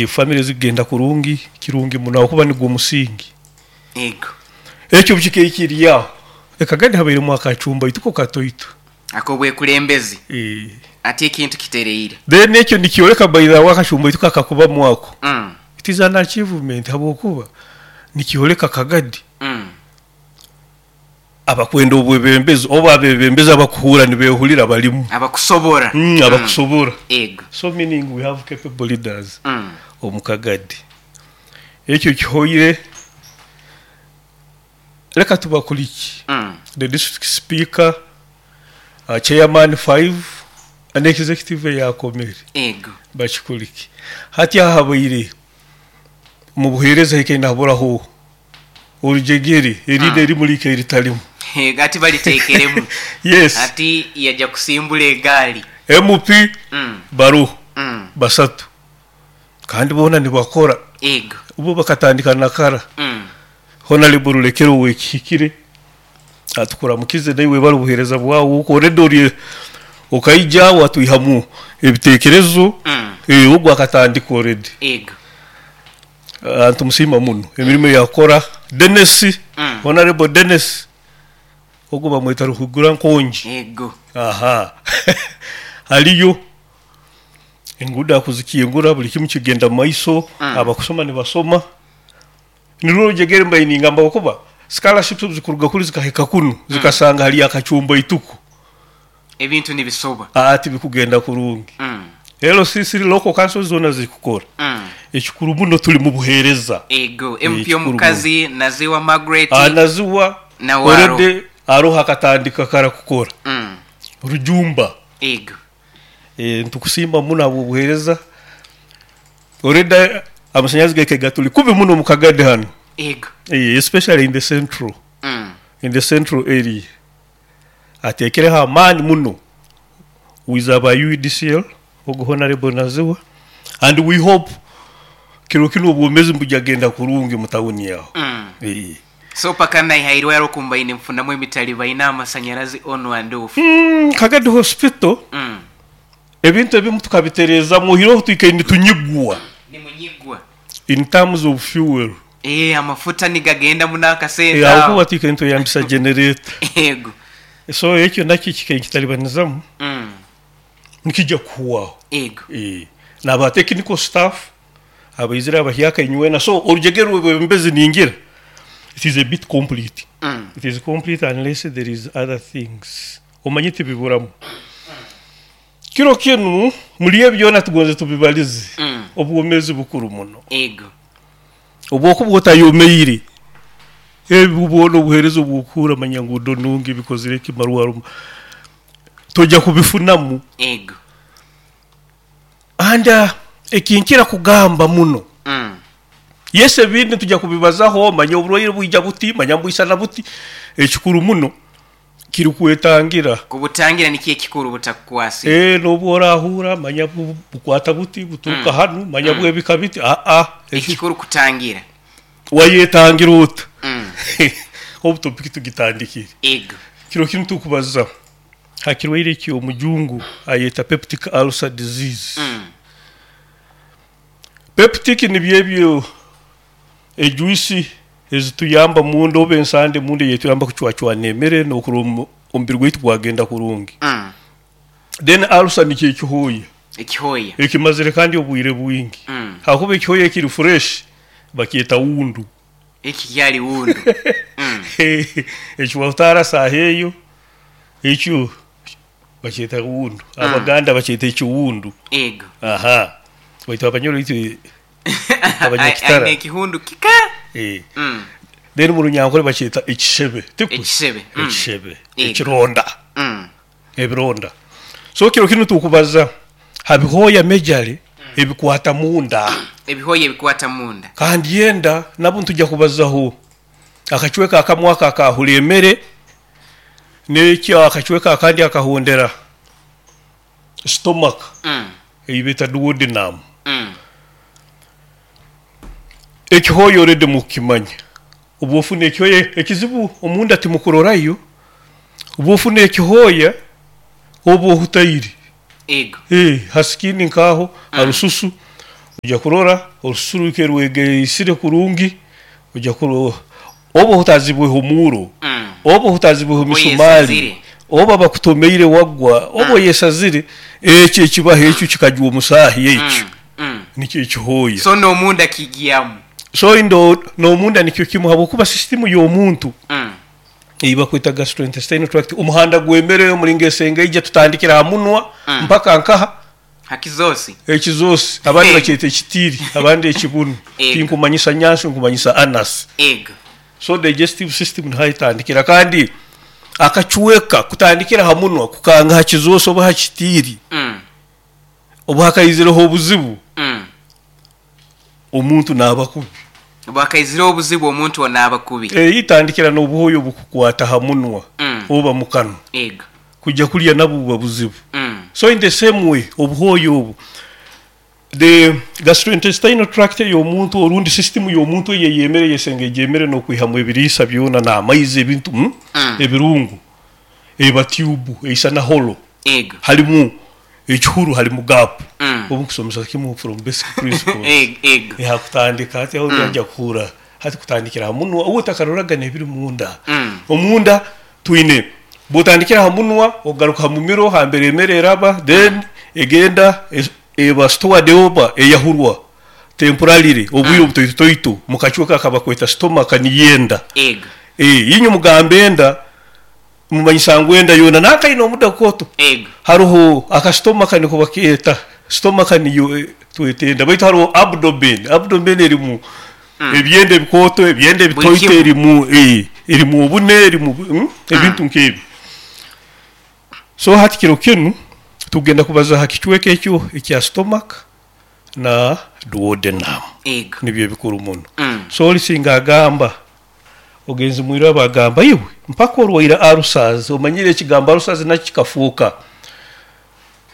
Family zikugenda kurungi, kirungi muno habwokuba nigwo musingi. Ego. Ekyo obu kiri aho, e Kagadi habairemu akacumba ituko katoito. Ak'obwekulembezi. Ati ekintu kitereire. Then ekyo nikyoleka by the way akacumba ituko akakubamu ako, it is an achievement habwokuba nikyoleka Kagadi abakwenda obwebembezi oba abebembezi abakuhuura nibehurira barimu. Abakusobora. Abakusobora. Ego. So meaning we have capable leaders omu Kagadi. Ekyo kihoire, leka tubakurikye. The district speaker, chairman five and executive eyakomere. Ego. Bakikurike. Hati aha habaire omu buheereza hikaire nihaburaho orujegere, eriino erimu likaire ritarimu. Ego, ati bariteekeremu. Yes. Ati yaja kusimbura egaali. MP baroho basatu kandi boona nibakora. Ego. Bo bakatandika na kara. Honarebo Rulekero ow'ekihikire atukuramukize naiwe webale obuheereza bwawe okwo already ori okaija watwihamu ebiteekerezo, ogwo akatandika already. Ego. Nitumusiima muno emirimo ei akukora. Denis, Honarebo Denis, ogwo bamweta Ruhigura Nkongi. Ego. Aha hariyo enguudo akuzikingura buri kimwe kigenda omu maiso, abakusoma nibasoma. Nirwo orujegere mbaire ningamba ahabw'okuba scholarships obu zikuruga kuri zikahika kunu zikasanga hariyo akacumba ituku. Ebintu nibisoba. Tibikugenda kurungi. LC Local Councils zoona zirikukora. Ekikuru muno turi mu buheereza. Ego, MP omukazi Naziwa Margaret Naziwa nawe aroho. Already aroho akatandika kara kukora. Rujumba. Ego. Nitukusiima muno ahabw'obuheereza. Already amasanyarazi gaitu gaturi kubi muno omu Kagadi hanu. Ego. Especially in the central. In the central area. Ateekireho amaani muno with aba UEDCL, ogu Honarebo Naziwa and we hope kiro kinu obwomezi nibwija kugenda kurungi omu tawuni aho. So paka naihairwe aroku mbaine nfunamu emitalibaine amasanyarazi on and off. Kagadi Hospital ebintu ebimu tukabitereezamu oihireho twikaire nitunyigwa. Nimunyigwa. In terms of fuel. Amafuta nigagenda muno akasente aho. Ahabw'okuba twikaire nitweyambisa generator. Ego. So ekyo nakyo kikaire nikitaribanizamu, nikija kuhwaho. Ego. N'aba technical staff abaizire abahyaka inywena, so orujegere rw'obwebembezi ningira it is a bit complete. It is complete unless there is other things. Omanye tibiburamu. Kiro kinu muli ebi byona tugonze tubibalize, obwomeezi bukuru muno. Ego. Obu okuba otayomeire, ebi bwona obuheereza obu okuhurra manya nguudo nungi, bikozire ki, marwaro, toija kubifunamu. Ego. And ekinkira kugamba muno, yes ebindi nitwija kubibazaho, manya oburwaire bwija buti, manya nibwisana buti, ekikuru muno kiri kwetangira. Kubutangira nikyo ekikuru butakukwasire. N'obu orahuura manya bukwata buti, buturuka hanu, manya bwebika biti, aa. Ekikuru kutangira. Wayetangira ota? Obu topiki tugitandikire. Ego. Kiro kinu tukubaza ha kirwaire eki omujungu ayeta peptic ulcer disease. Peptic nibyo ebyo ejuice ezituyamba munda oba ensande munda eyetuyamba kucwacwana emere n'okurora omubiri gwaitu gwagenda kurungi. Then ulcer nikyo ekihooya. Ekihooya. Ekimazire kandi obwire bwingi. Ahakuba ekihooya ekiri fresh bakyeta wundu. Eki kyali wundu. Eki wahutaara saaha eyo, ekyo bakyeta wundu. Abaganda bakyeta ekiwundu. Ego. Aha. Baitu Abanyoro itwe Abanyakitara. Aine ekihundu kika. Then omu Runyankore bakyeta ekishebe. Tikwe? Ekishebe. Ekishebe. Ego. Ekironda. Ebironda. So kiro kinu tukubaza ha bihooya majorly ebikwata munda. Ebihooya ebikwata munda. Kandi enda nabwo nitwija kubazaho akacweka akamu ako akaahura emere n'ekyo akacweka akandi akahondera stomach ei beeta duodenum. Ekihooya already mukukimanya. Obu ofuna ekihooya, ekizibu omunda timukurorayo, obu ofuna ekihooya oba ohutaire. Ego. Ha skin nk'aho, ha rususu. Ojya kurora orususu rwike rwegeisire kurungi, ojya kurora oba ohutazibweho omuuro, oba ohutazibweho emisumaali, Oyesazire. oba bakutomeire wagwa, oba oyesazire, ekyo ekibaho ekyo kikajwa omusaahi ekyo nikyo ekihooya. So n'omunda kigyamu. So n'omunda nikyo kimu habwokuba sisitimu y'omuntu ei bakweta gastrointestinal tract, omuhanda gw'emere omulingo esengeija tutandikira ha munwa mpaka nkaha? Ha kizoosi. Ekizoosi, abandi bakyeta ekitiiri, abandi ekibunu. Ego. Tinkumanyisa nyansi, nkumanyisa anus. Ego. So digestive system niho etandikira kandi akacweka kutandikira ha munwa kukanga ha kizoosi oba ha kitiiri, obu hakaizireho obuzibu, omuntu naaba kubi. Obu hakaizireho obuzibu omuntu onaaba kubi. Etandikira n'obuhooya obukukwata ha munwa oba mu kanwa. Ego. Kwija kulya nabwo buba buzibu. So in the same way obuhooya obu, the gastrointestinal tract ey'omuntu orundi system y'omuntu eyo ey'emere eyesengeija emere n'okwihamu ebiriisa byona n'amaizi ebintu ebirungu eba tube eisana hollow Ego. halimu ekihuru halimu gap. Obu nkusomesa kimu from basic principles. Ego, ego. Hakutandika hati aho noija kuhurra hati kutandikira ha munwa obu otakaroraga n'ebiri munda. Omunda Twine, bw'otandikira ha munwa ogaruka ha mumiro hambere emere eraba then egenda eba stored oba eyahurwa temporarily obwire obutoitotoito mu kacweka akabakweta stomach niyo enda. Ego. Inywe mugamba enda mumanyisa ngu enda yoona nankaine omuda kooto. Ego. Haroho aka stomach niko bakeeta, stomach niyo tweta enda baitu haroho abdomen, abdomen erimu Ebyenda ebikooto, ebyenda Buli ebitoito kimu. erimu erimu obune, erimu ebintu nk'ebyo. So hati kiro kinu tugenda kubaza ha kicweka ekyo ekya stomach na duodenum. Ego. Nibyo ebikuru muno. Mm. So oli singa agamba ogenzi mwirwe agamba iwe mpaka orwaire ulcers, omanyire ekigambo ulcers nakyo kikafuuka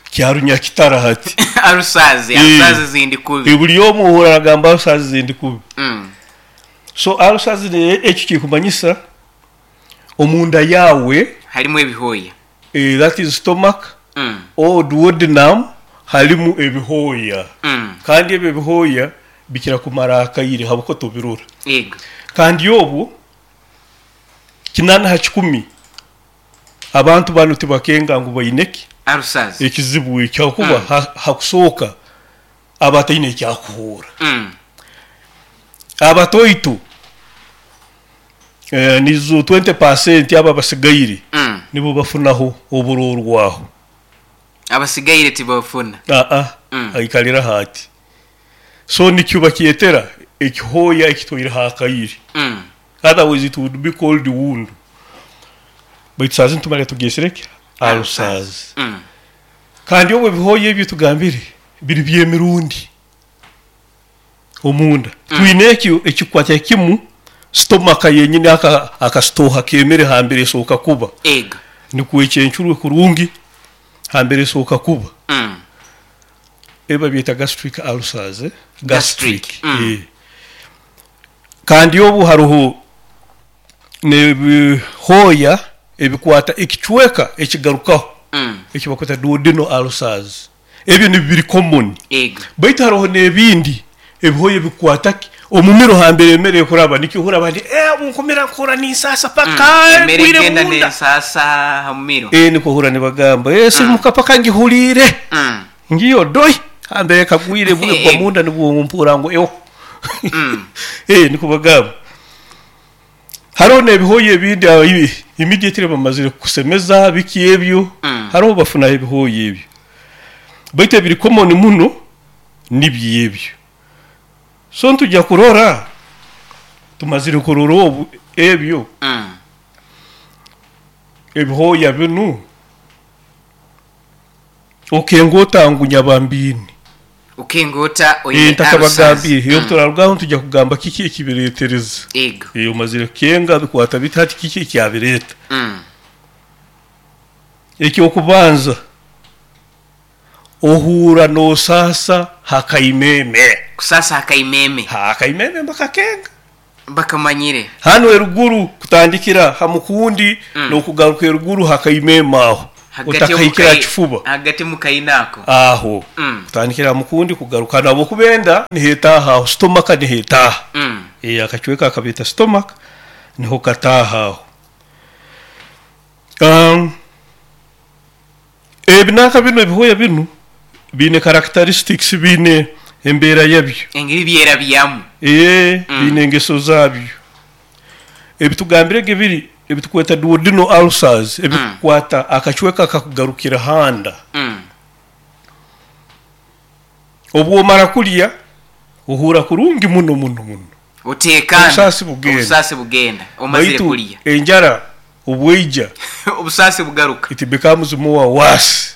kya runyakitara hati. Ulcers, ulcers zindi kubi. Buli omu ohurra aragamba ulcers zindi kubi. So ulcers ekyo kikumanyisa omunda yaawe Harimu ebihooya. That is stomach or duodenum harimu ebihooya. Kandi ebyo ebihooya bikira kumara akaire habwokuba tobirora. Ego. Kandi obwo 80% abantu banu tibakenga ngu baine ki? Ulcers. Ekizibu ekyo habwokuba ha kusooka aba ataine eki akuhuura. Abatoito nizo 20% abo abasigaire nibo bafunaho oburorwaho. Abasigaire tibafuna. Aa, aikaliraho ati. So nikyo bakyetera ekihooya ekitwaireho akaire. Otherwise it would be called wound. Baitu saaha zinu tumara tugyesire ki? Ulcers. Kandi obu ebihooya ebi tugambire biri by'emirundi omunda. Twine ekyo ekikukwatira kimu stomach yenyini akasitooha k'emere hambere esooka kuba. Ego. Nikwo ekyencurwe kurungi hambere esooka kuba. Ebi babyeta gastric ulcers. Gastric. Gastric. Kandi obu haroho n'ebihooya ebikwata ekicweka ekigarukaho eki bakweta duodenal ulcers. Ebyo nibyo biri common. Ego. Baitu haroho n'ebindi ebihooya ebikukwata ki omumiro hambere emere ekuraba nikyo ohurra abandi obu nkumira nkuhurra ninsaasa paka Emere egwire egenda munda. n'ensaasa ha mumiro. Nikwo ohurra nibagamba sirimuka paka ngihuliire. Ngiyo doi hambere kagwire bwe gwa munda nibwo mpurra ngu ewo. Nikwo bagamba. Haroho n'ebihooya ebindi immediately bamazire kukusemeza biki ebyo, haroho bafunaho ebihooya ebyo. Baitu ebiri common muno nibyo ebyo. So nitujya kurora, tumazire kurora obu ebyo, ebihooya binu, okenga ota ngu nyabambiini? Okenga ota oine Ntakabagambiire. ulcers? Obu turarugaho nitujya kugamba kiki ekibireetereza. Ego. Omazire kukenga bikwata biti hati kiki ekyabireeta? Eky'okubanza, ohuura noosaasa ha kaimeeme. Kusaasa ha kaimeeme. Ha kaimeeme mbakakenga. Bakamanyire. Hanu eruguru kutandikira ha mukundi n'okugaruka eruguru ha kaimeeme aho. Hagati Otakahikire aha omukai kifuba. Hagati mu kaina ako. Aho. Kutandikira aha mukundi kugaruka hanu ahabw'okuba enda niho etaaha aho, stomach niho etaaha. Akacweka akabeeta stomach niho kataaha aho. Ebi nanka binu ebihooya binu biine characteristics, biine embeera yabyo. Engeri byerabyamu. Biine engeso zaabyo. Ebitugambire ge biri ebitukweta duodenal ulcers ebikukwata akacweka akakugarukira handa. Obu omara kulya ohuura kurungi muno muno muno. Oteekaana. Obusaasi bugenda. Obusaasi bugenda omazire Baitu kulya. enjara obu eija, Obusaasi bugaruka. it becomes more worse.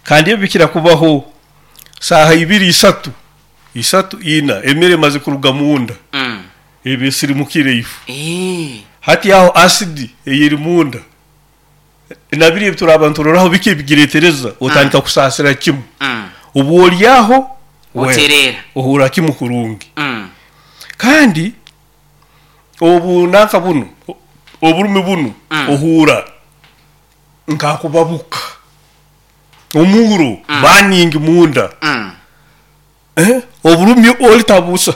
Kandi ebi bikira kubaho saaha ibiri isatu, isatu ina emere emaze kuruga munda, eba esirimukire ifu. Hati aho acid eyeri munda na biri ebi turaaba nituroraho biki ebigireetereza, otandika kusaasira kimu. Obu oryaho, well, Otereera. ohuura kimu kurungi. Kandi obu nanka bunu, oburumi bunu ohuura nk'akubabuka, omuuro burning munda. Oburumi ori tabusa.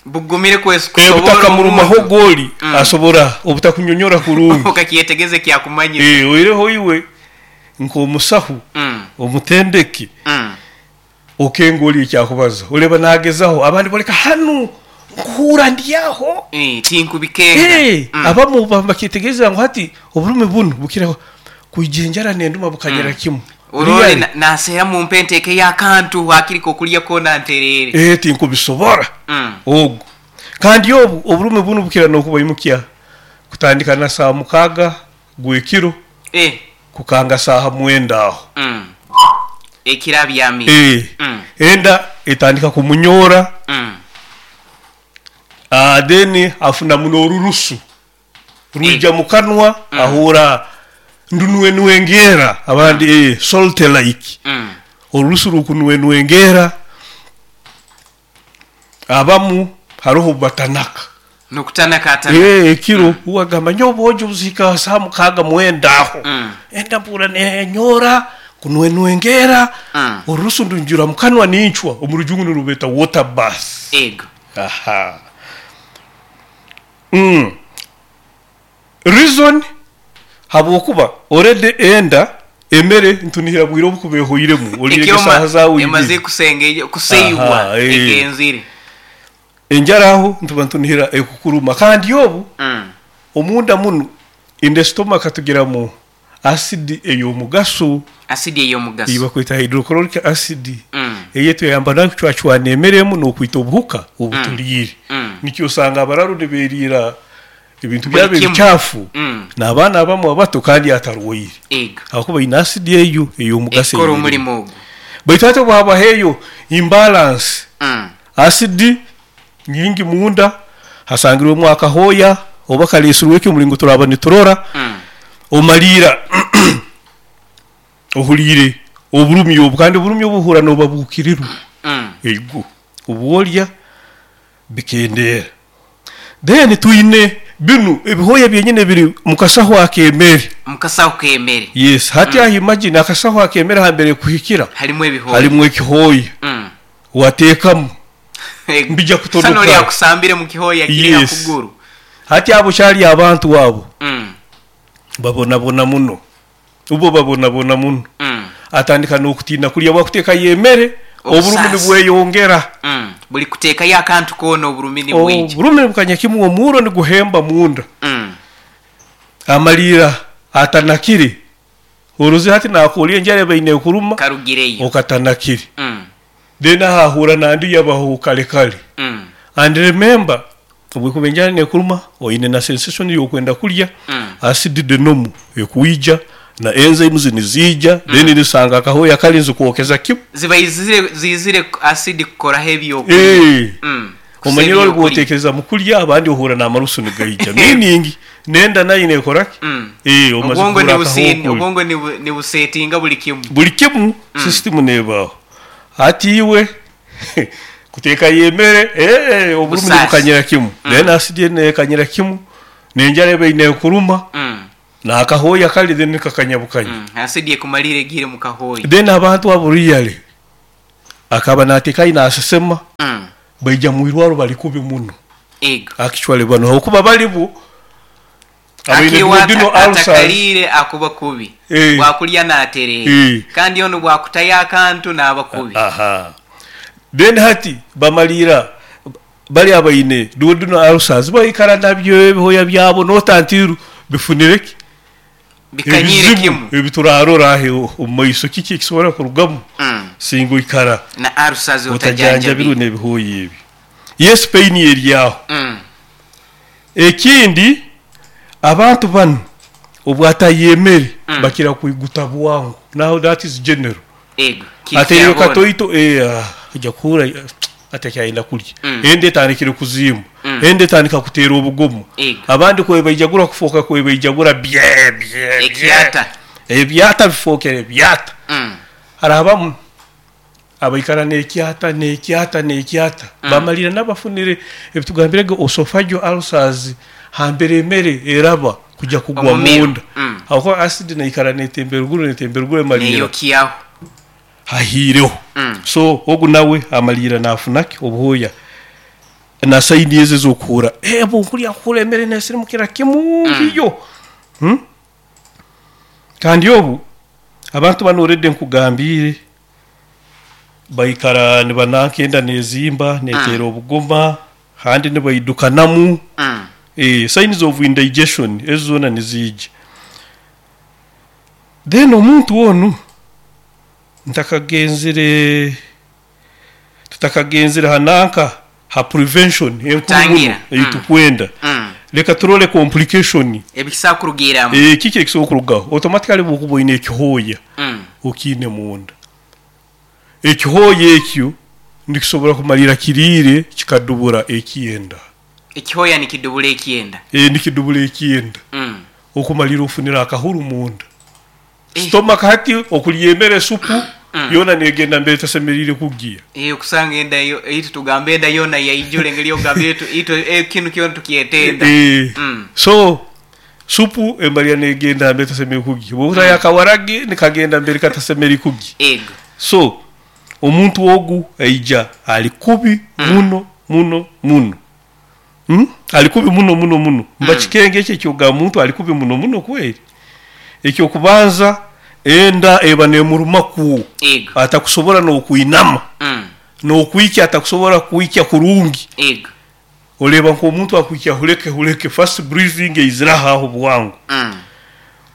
Bugumire kusoborra Obutakamurumaho omuntu. ogwo ori asobora obutakunyonyora kurungi. Okakyetegeza ekyakumanyisa. Oihireho iwe nk'omusaho, omutendeki, okenga ori ekyakubaza. Oreeba naagezaho, abandi boreka hanu nkuhuura ndi aho. Tinkubikenga. Abamu bakyetegereza ngu hati oburumi bunu bukira kwija enjara nenduma bukanyira kimu. Orole Really? Naseera mumpe enteekeyo akantu hakiri kokulya koona ntereere. Tinkubisobora. Ogu. Kandi obu oburumi bunu bukira n'okubaimukya kutandika na saaha 6 gw'ekiro kukanga saaha 9 aho. Ekiro abyamire. Enda etandika kumunyoora. Then afunamu n'orurusu rwija mukanwa, ahuura ndunwenwengeera abandi salt like. Orurusu rukunwenwengeera, abamu haroho obu batanaka. N'okutanaka atanaka. Ekiro uwe agamba nyowe obwojo buzihika ha saaha 6 9 aho. Enda mpuura nenyoora, kunwenwengeera, orurusu ndunjura mukanwa nincwa, omu rujungu nirubeeta water bath. Ego. Aha. Reason habwokuba already enda emere ntunihira bwire obu kuba ehoiremu oriire Ekiro saaha zaawe emaze ibiri. kuseibwa Aha, eh. egenzire. Enjara aho ntuba ntunihira ekukuruma kandi obu omunda munu in the stomach tugiramu acid ey'omugaso. Acid ey'omugaso. Ei bakweta hydrochloric acid. Ei etuyamba n'okucwacwana emere emu n'okwita obuhuka obu turiire. Nikyo osanga abararu nibeeriira ebintu Buli byabo kimu. ebikyafu n'abaana abamu abato kandi atarwaire. Ego. Ahakuba aine acid eyo ey'omugaso Ekora ey'erimu. omurimo ogu. Baitu hati obu habaho eyo imbalance, acid nyingi munda, hasangirwemu akahooya oba kareesirwe ki omuringo turaaba niturora, omariira ohuriire oburumi obu kandi oburumi obu ohuura noobabuukirirwa. Ego, obu orya bikendeera. Then twine binu ebihooya byenyini ebiri mu kasaho ak'emere. Mu kasaho k'emere. Yes, hati aho imagine akasaho ak'emere hambere kuhikira Harimu ebihooya. Harimu ekihooya. Wateekamu Ego. mbija Kusana ori kutonoka. akusambire mu kihooya kiri ha Yes. kuguru. Hati abo kyari abantu abo babonabona muno. Ubo babonabona muno. Atandika n'okutiina kulya bwakuteekayo emere oburumi Obusaasi. nibweyongera. Buli kuteekayo akantu koona oburumi nibwija. Oburumi nibukanya kimwe omuuro niguhemba munda. Amaliira atanakire. Oruzi hati nakuhurira enjara ebaine ekuruma Karugireyo. okatanakire. Then aho ahuura nandi yabaho kare kare. And remember obwekuba enjara nekuruma oine na sensation y'okwenda kulya, acid de normal ekwija na enzymes niziija then nisanga akahooya kari nizikwokeza kimu. Ziba izire acid kukoraho ebyokulya. Omanyire Kusa ori ebyokulya. bwotekereza mu kulya abandi ohuura n'amarusu nigaija. Meaning nenda nayo nekora ki? Omaze Obwongo kuhuura akahooya okulya. Obwongo nibusetinga buli kimu. Buli kimu system nebaho. Hati iwe kuteekayo emere, oburumi Busaasi. nibukanyira kimu. Then acid nekanyira kimu, n'enjara ebaine ekuruma. N'akahooya kali then kakanyabukanya. Asidi ekumalire egiire mu kahooya. Then abantu abo really akaba nateekayo nasesema baija mu irwaro bali kubi muno. Ego. Actually banu habwokuba bali bo abaine Akiwa duodenal ulcers. atakaliire akuba kubi. Bwakulya natereera. Kandi onu bwakutayo akantu naaba kubi. Aha. Then hati bamaliira bali abaine duodenal ulcers baikara nabyo ebihooya byabo notantiru bifunire ki? Bikanyire Ebizibu kimu. ebiturarora ahe omu maiso kiki ekisobora kurugamu singa oikara na ulcers otajanjabirwe otajanjabirwe. n'ebihooya ebi. Yes, pain eri aho. Ekindi abantu banu obwatayemere bakira kwiguta bwangu. Now that is general. Ego, kiri Ateire kya boona. katoito, aja kuhura atakyayenda kulya. Enda etandikire kuzimba. Enda etandika kuteera obugumu. Ego. Abandi kwebaijagura kufoka kwebaijagura bye bye bye. Ekyata. Ebyata bifokere byata. Harabamu abaikara n'ekyata n'ekyata n'ekyata. Bamalira n'abafunire ebitugambirege esophageal ulcers hambere emere eraba kujya kugwa Omumiro. munda. Aho acid naikara netembera ruguru netembera ruguru emalira. Neyokiaho. Hahiireho. So ogu nawe amalira nafunaki obuhoya na saini ezo ez'okuhura. Bunkulya nkuhura emere nesirimukira kimu hiyo. Kandi obu abantu banu already nkugambire baikara nibananka enda nezimba neteera obugoma kandi nibaidukanamu. Signs of indigestion ezo zoona niziija. Then omuntu onu tutakagenzire hananka ha prevention enkuru muno Kutangira. eitukwenda. Leka turole complication. Ebikisa kurugiramu. Kiki ekisobola kurugaho? Automatically bwokuba oine ekihooya okiine munda. Ekihooya ekyo nikisobora kumalira kiriire kikadubura ekyenda. Ekihooya nikidubura ekyenda. Nikidubura ekyenda. Okumalira ofunira akahuru munda. Stomach hati okulya emere supu yoona negenda mbere tasemerire kugiya. Okusanga enda yo, itu tugamba enda yoona yaijure ngeri ogamba itu kinu kyona tukyetenda. So supu emalira negenda mbere tasemerire kugiya. Bwokuta yakawaragi nikagenda mbere katasemerire kugiya. Ego. So omuntu ogu aija ali kubi muno muno muno. Ali kubi muno muno muno. Mbakikenge ekyo ekyoga muntu ali kubi muno muno kweli. Ekyo kubanza enda eba nemuruma ku. Ego. Atakusobora n'okuinama. N'okwikya atakusobora kwikya kurungi. Ego. Oleba nk'omuntu akwikya huleke huleke fast breathing eiziraho aho bwangu.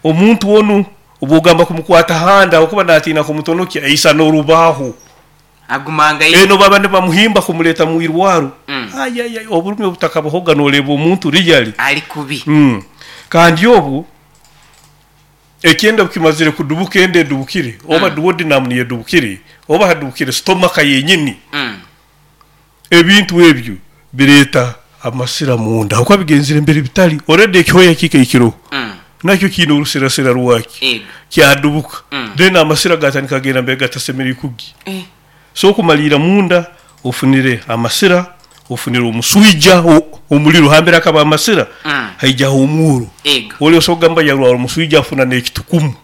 Omuntu onu obwogamba kumukwata handa okuba natiina kumutonokya aisa n'orubaho. Agumanga Eno baba nibamuhimba kumuleta mu irwaro. Ay, ay, ay, oburumi obutakabahoga n'oleba omuntu really. Ali kubi. Kandi obu ekyenda kimazire kudubuka ende edubukire oba duodenum niyedubukire oba hadubukire stomach yenyini. Ebintu ebyo bireeta amasira munda. Uko bigenzire mbere bitali already ekyoya kikaikiro. Nakyo kiine orusirasira rwaki. Ego. Kyadubuka. Then amasira gatandika kagenda mbere gatasemerire kugi. So okumalira munda ofunire amasira, ofunire omuswija omuliro hambere akaba amasira. Haijaho omuro. Ego. Oli osogamba yarwara omuswija afuna n'ekitukumu.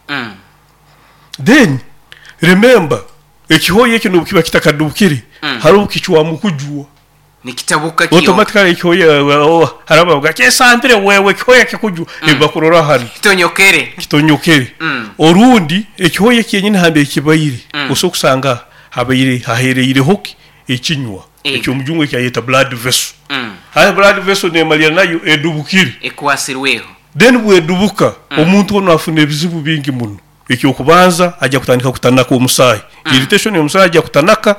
Then remember ekihoya ekyo nobu kiba kitakadubukire hariho kichwamu kujwa. Nikitabuka kiyo. Automatically ekihoya haraba bavuga kyesambire wewe ekihoya kikujwa. Ebakurora hano. Kitonyokere. Kitonyokere. Orundi ekihoya kyenyini hambere kibaire. Osobola kusanga habaire hahereireho ki ekinywa. Ekyo omujungu ekyayeta blood vessel. Haya blood vessel nemalira nayo edubukire. Ekwasirweho. Then bwedubuka omuntu ono afuna ebizibu bingi muno. Ekyokubanza ajja kutandika kutanaka omusaayi. Irritation y'omusaayi ajja kutanaka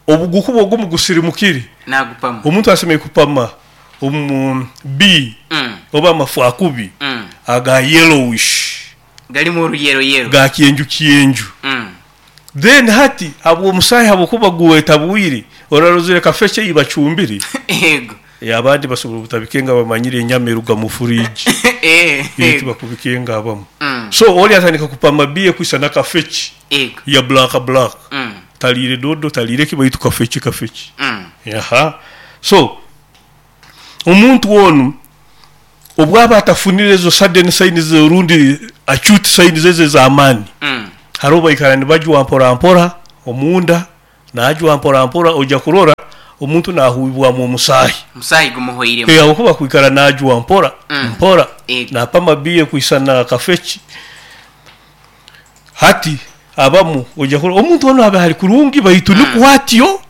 obugukuba ogumu gusirimukire. Nagupama. Omuntu asemeye kupama omu B oba amafu akubi aga yellowish. Galimu oruyero yero. Ga kyenju kyenju. Then hati abwo omusaayi habwokuba guwetabwire orarozire kafeche ibacumbire. Ego. Abandi basobora obutabikenga bamanyire enyama eruga mu fridge. Tubakubikenga abamu. So oli atandika kupama biye kwisa na kafeche. Ego. Ya black black. Talire dodo talire kibaitu kafeche kafeche. Aha. So omuntu onu Obwaba atafunire ezo sudden signs orundi acute signs ezo ez'amaani, haroho baikara nibajwa mpora mpora omunda, najwa mpora mpora oija kurora omuntu nahuibwamu omusaahi. Omusaahi gumuhweiremu. Habwokuba kwikara najwa mpora mpora, napama biya ekwisana kafeki. Hati abamu oija kurora omuntu onu abe ali kurungi baitu nikwo atyo.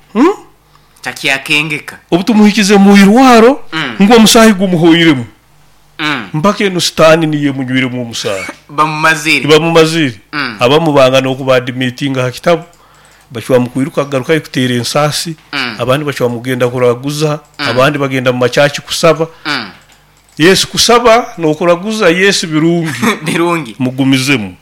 Takyakengeka. Obu tumuhikize mu irwaro ngu omusaahi gumuhweiremu, mpaka enu sitaani niyo emunywiremu omusaahi. Bamumazire. Bamumazire. Abamu banga n'okubaadimitinga ha kitabu, bacwamu kwiruka kugarukayo kuteera ensaasi, abandi bacwamu kugenda kuraguza, abandi bagenda mu macaci kusaba. Yes, kusaba n'okuraguza yes birungi. Birungi. Mugumizemu.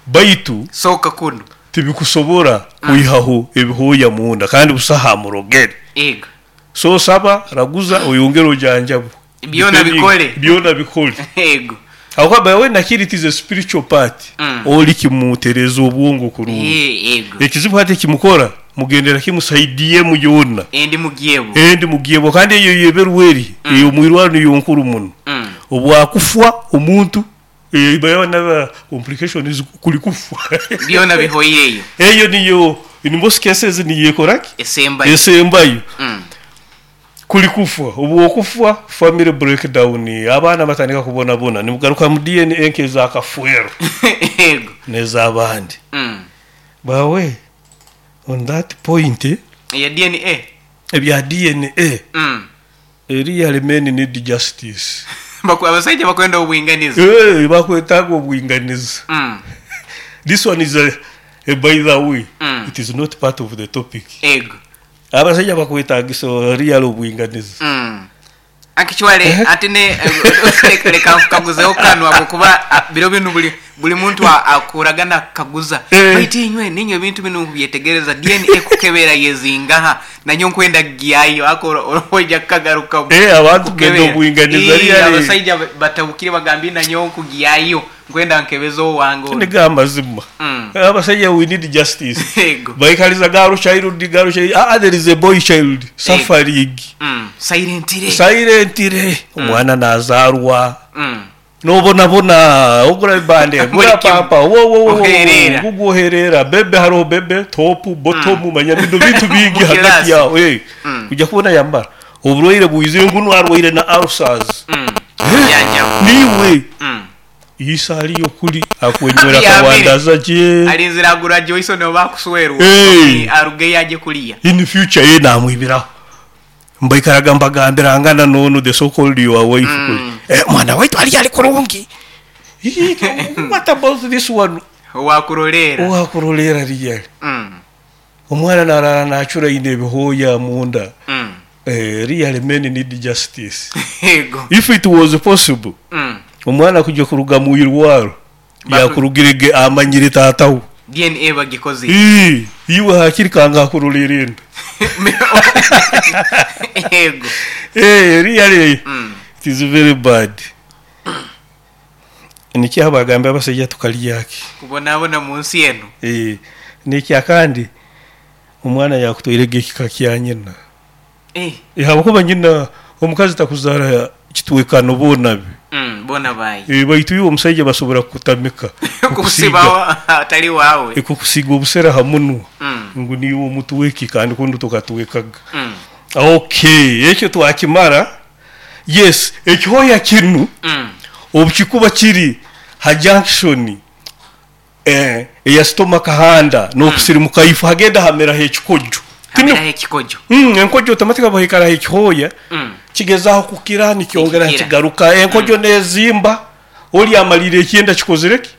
Baitu. Sooka kunu. Tibikusobora kwihaho ebihooya munda kandi busaho amurogere. Ego. So saba, raguza, oyongere ojanjabwe. Byona bikole. Byona bikole. Ego. Habwokuba by the way nakiri it is a spiritual part. Oli kimutereza obwongo kurungi. Ego. Ekizibu hati ekimukora mugendera kimu side emu yoona. Endi mugyebwo. Endi mugyebwo kandi eyo yeberwa eri ey'omwirwarro niyo nkuru muno. Obwakufwa omuntu by another complications kuli kufwa. Byona bihoireyo. Eyo niyo in most cases niyo ekora ki? Esembayo. Esembayo. Kuli kufwa. Obwokufwa family breakdown, abaana batandika kubonabona nimugaruka mu DNA nk'eza Kafwero Ego. n'ez'abandi. Bawe on that point. Eya DNA? Ebya DNA. Really men need justice. Abasaija bakwenda obwinganiza. Eeh bakwetaaga obwinganiza. This one is a, a by the way, it is not part of the topic. Ego. Abasaija bakwetagisa really obwinganiza. Actually ati ne leka nkukaguzeho kanu habwokuba biro binu buli buli muntu akuraga nakukaguza baitu inywe ninywe ebintu binu nkubyetegereza DNA kukebera yezingaha nanyowe nkwenda kugyayo ako oija kukagarukamu Abantu benda obwinganiza really. Abasaija batabukire bagambire nanyowe nkugyayo nkwenda nkebeze owange onu. Nigo amazima. Abasaija we need justice. Baikaliza girl child, girl child, aa there is a boy child suffering. Silently. Silently. Omwana nazarwa. Nobonabona, ogura ebibande, gura pampa, wo gugu oherera, bebe haroho bebe, top, bottom, manya binu bintu bingi hagati yaho. Kuja kubona yamara. Oburwaire bwizire ngu nu arwaire na ulcers. Niiwe. Iso aliyo kuli akwenywera akawandaza gye. Alinzire agura Joyson oba akuswerwa arugeyo aje kuliya. In future ye namwibiraho. Mbaikaraga mbagambirangana n'onu the so called your wife kuli. Mwana waitu aliyo ali kurungi. What about this one? Owakuroleera. Owakuroleera really. Omwana naraara nacura aine ebihooya munda. Really men need justice. If it was possible omwana kuja kuruga mu irwaro yakurugire ge amanyire taata we. DNA bagikozire. Ii, iwe hakiri kanga akurorera enda. Ego. Really it is very bad. Nikyo abagambye abasaija tukarya ki? Kubonabona munsi enu. Nekyakandi omwana yakutwairege ekika kya nyina. Habwokuba nyina omukazi takuzaara kitwekano boona be. Boona baayi. Baitu iwe omusaija basobora kukutamika. Kukusiba atali waawe. Kukusiiga obusera ha munwa ngu niiwe omutweki kandi kunu tokatwekaga. Okay, ekyo twakimara. Yes, ekihooya kinu obu kikuba kiri ha junction eya stomach handa n'okusirimuka ifu hagenda hameraho ekikojo. Hameraho ekikojo. Enkojo automatically obu haikaraho ekihooya kigezaho kukira nikyongera nikigaruka. Enkojo n'ezimba, oli amaliire ekyenda kikozire ki?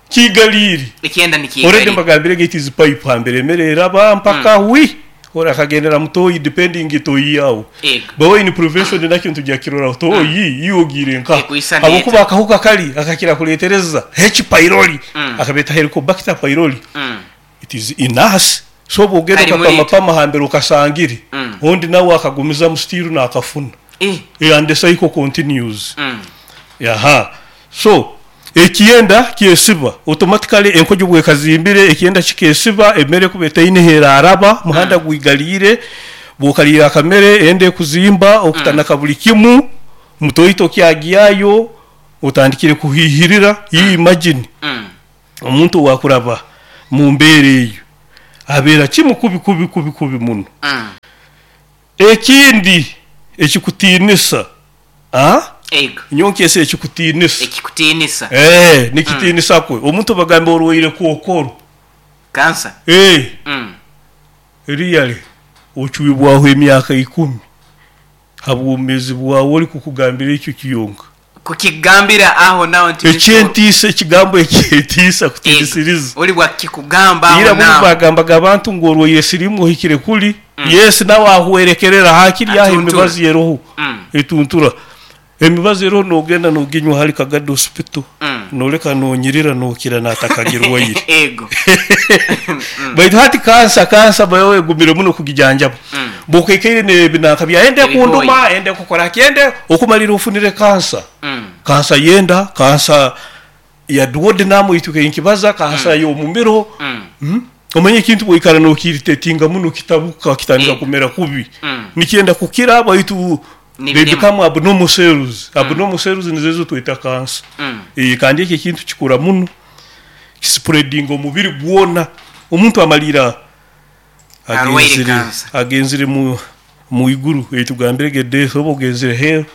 Kiigaliire. Ekyenda nikiigalire. Already mbagambire it is pipe hambere emere eraba mpaka wi ori akagendera mu toyi depending toyi yawe. By in prevention nakyo nitugya kukiroraho toyi iwe ogiire nkaha habwokuba akahuka kari akakira kuretereza H pylori akabeeta helicobacter pylori it is in us so obu ogenda okapamapama hambere okasangire ondi nawe akagumizamu still nakafuna and the cycle continues. Aha so Ekyenda kyesiba automatically enkojo bwekazimbire ekyenda kikesiba emere ekuba etaine heraraba muhanda gwigaliire bwokaliire akamere enda ekuzimba okutanaka buli kimu Mutoito kyagyayo otandikire kuhihirira. Imagine omuntu owakuraba mu mbeera eyo abeera kimu kubi kubi kubi kubi muno. Ekindi ekikutiinisa, Ego. Nyowe nkyese ekikutiinisa. Ekikutiinisa. Nikitiinisa kwe omuntu bagambe orwaire kookoro. Kansa. Really ocwibwaho emyaka 10 habwomezi bwawe ori kukugambira ekyo kiyonka. Kukigambira aho naho nti Ekyentiisa, ekigambo ekyentiisa kutiinisiriza. Ori bwakikugamba aho Ira muno naho. bagambaga abantu ngu orwaire siriimu ohikire kuli. Yes, nawe ahwerekerera hakiri aho Atuntura. emibazi eroho. Etuntura. Emibazi eroho nogenda noginywa hali Kagadi Hospital. Noleka nonyirira nokira natakagirwaire. Ego. Baitu hati kansa bayo egumire muno kugijanjaba. Bwokaikaire n'ebinanka bya ende Ebihooya. kunduma, ende kukora ki, ende okumalira ofunire kansa. Kansa yenda, kansa ya duodenum eituke nkibaza, kansa y'omumiro. Omanye ekintu bwoikara nokiritetinga muno kitabuka kitandika kumera kubi. Nikyenda kukira baitu Ni they birema. become abnormal cells. Abnormal cells nizo ezo tweta kansa. Kandi ekyo ekintu kikura muno, kispreadinga omubiri gwona. Omuntu amalira Arwaire kansa. agenzire mu iguru, etugambire death oba ogenzire hell,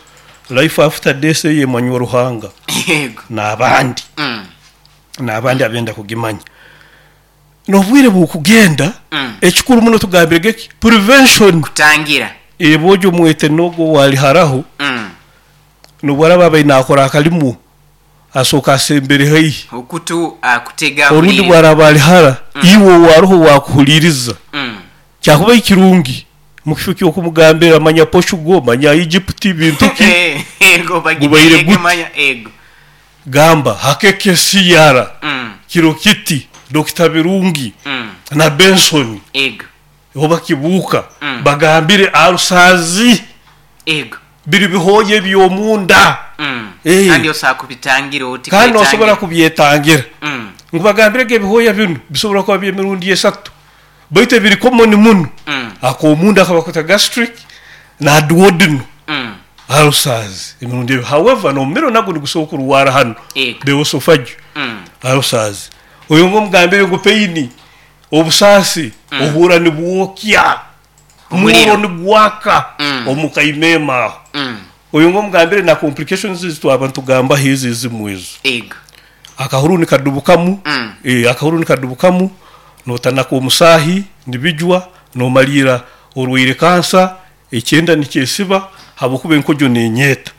life after death eye emanywa Ruhanga. Yego. N'abandi. N'abandi abenda kugimanya. N'obwire bw'okugenda, ekikuru muno tugambire geki prevention. Kutangira. Ebojo mwete nogo wali haraho. Nobwaraba abaine akora akalimu asooka asembere haihi. Okutu akutega Orundi huliriza. bwaraba ali hara, iwe waruho wakuhuliriza. Kyakuba ekirungi mu kifo ky'okumugambira manya Portugal, manya Egypt bintu ki. Ego, Gubaire bagitege guti. manya, ego. Gamba hakeke siyara. Kiro kiti Dr. Birungi na Benson. Ego. Oba kibuuka. Bagambire arusazi. Ego. Biri bihoye by'omunda. Kandi osobola kubitangira oti Kandi kwetangira. osobola kubyetangira. Nkubagambire ge ebihoya binu bisobola kuba by'emirundi 3. Baitu ebiri common muno. Ak'omunda akabakweta gastric na duodenum. Arusazi emirundi ebiri. However, n'omumiro nagwo nigusobola kurwara hano. Ego. The esophagus. Arusazi. Oyo ngomugambire ngu pain, obusaasi, ohuura nibwokya. Omuliro. Omuriro nigwaka omukaimema aho. Oyo ngomugambire na complications ezi twaba ntugamba hizi ezimu ezo. Ego. Akahuru nikadubukamu, akahuru nikadubukamu, notanaka omusaahi, nibijwa, nomalira orwaire kansa, ekyenda nikyesiba, habwokuba enkojo nenyeeta.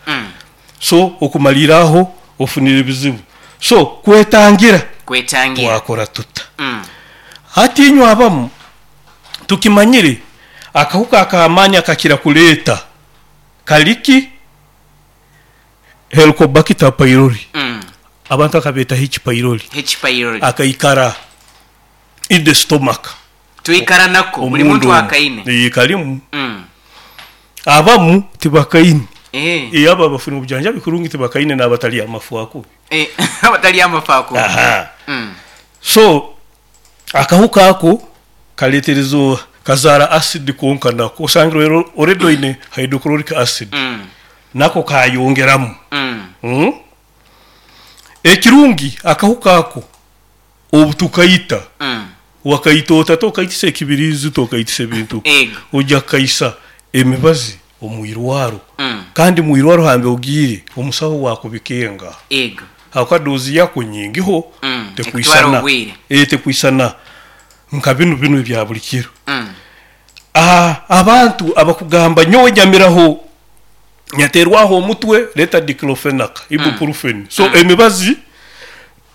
So okumalira aho ofunire ebizibu. So kwetangira. Kwetangira. Twakora tuta. Hati inywe abamu tukimanyire akahuka ak'amaani akakira kuleeta kaliki Helicobacter pylori. Abantu akabeeta H pylori. H pylori. Akaikara in the stomach. Tuikara nako buli muntu Omundu akaine. Kalimu. Abamu tibakaine. Aba bafuna obujanjabi kurungi tibakaine n'abatali amafu akubi. Abatali amafu akubi. So akahuka ako kaleterezo kazara acid konka nako osangire rero already oine hydrochloric acid. Nako kayongeramu. Ekirungi akahuka ako obutukaita. Wakaita ota tokaitisa ekibirizi tokaitisa ebintu. Ego. Ojja kaisa emibazi omwirwaro. Kandi mwirwaro hambe ogiire omusaho wakubikenga. Ego. Haka dozi yako nyingiho tekwisana. Ekutwara obwire. Tekwisana nka binu binu ebya buli kiro. Abantu abakugamba nyowe nyamiraho nyaterwaho omutwe leta diclofenac, ibuprofen. So emibazi